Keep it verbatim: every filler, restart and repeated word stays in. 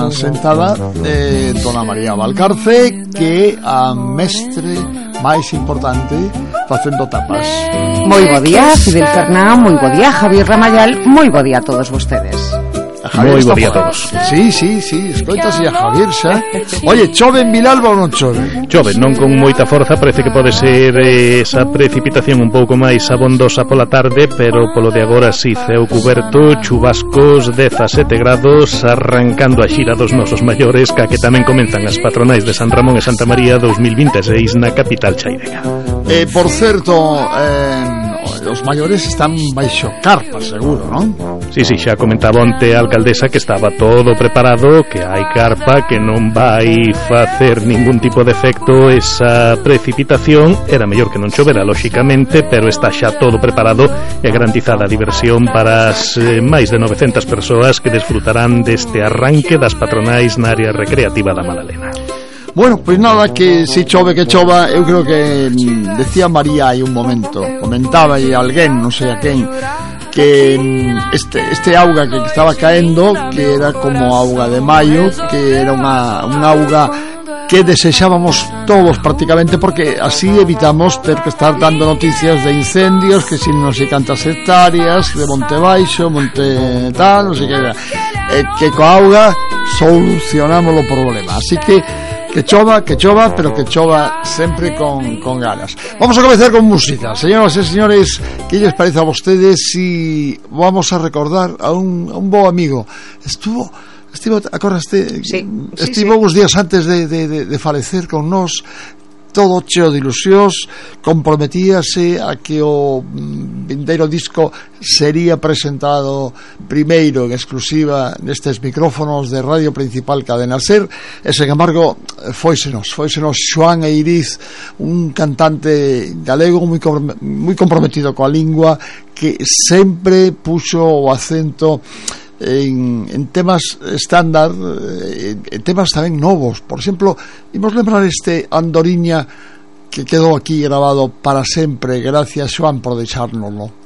unha sentada de Dona María Valcarce, que a mestre máis importante facendo tapas. Moi bo día, Fidel Fernán, moi bo día, Javier Ramayal, moi bo día a todos vostedes. Moi bo día a todos. Sí, sí, sí, escoitase a Javier xa. Oye, chove en Vilalba ou non chove? Chove, non con moita forza, parece que pode ser eh, esa precipitación un pouco máis abondosa pola tarde, pero polo de agora si ceo cuberto, chubascos, dezasete grados, arrancando a xira dos nosos maiores, ca que tamén comenzan as patronais de San Ramón e Santa María dos mil vinte e seis na capital chairega. Eh, por certo, eh, os maiores están baixo carpa, seguro, non? Sí, sí, xa comentaba onte a alcaldesa que estaba todo preparado, que hai carpa, que non vai facer ningún tipo de efecto esa precipitación. Era mellor que non chovera, lóxicamente, pero está xa todo preparado e garantizada a diversión para as eh, máis de novecentas persoas que desfrutarán deste arranque das patronais na área recreativa da Madalena. Bueno, pois nada, que se chove que chova, eu creo que mm, decía María hai un momento, comentaba aí alguén, non sei a quen, que mm, este, este auga que estaba caendo, que era como auga de maio, que era unha, unha auga que desexábamos todos prácticamente, porque así evitamos ter que estar dando noticias de incendios, que si non sei cantas hectáreas, de Monte Baixo, Monte tal, non sei que, eh, que coa auga solucionamos o problema. Así que que chova, que chova, pero que chova sempre con, con ganas. Vamos a comenzar con música. Señoras e señores, ¿qué les parece a vostedes si vamos a recordar a un, a un bo amigo? Estuvo, estivo, acordaste, sí, estivo sí, sí. uns días antes de, de, de, de falecer con nós, todo cheo de ilusións, comprometíase a que o vindeiro disco sería presentado primeiro en exclusiva nestes micrófonos de Radio Principal Cadena Ser, e sen embargo foisenos, foisenos Xoán Eiriz, un cantante galego moi, moi comprometido coa lingua, que sempre puxo o acento En, en temas estándar, en temas tamén novos. Por exemplo, imos lembrar este Andoriña que quedou aquí grabado para sempre. Gracias, Xoán, por deixárnoslo.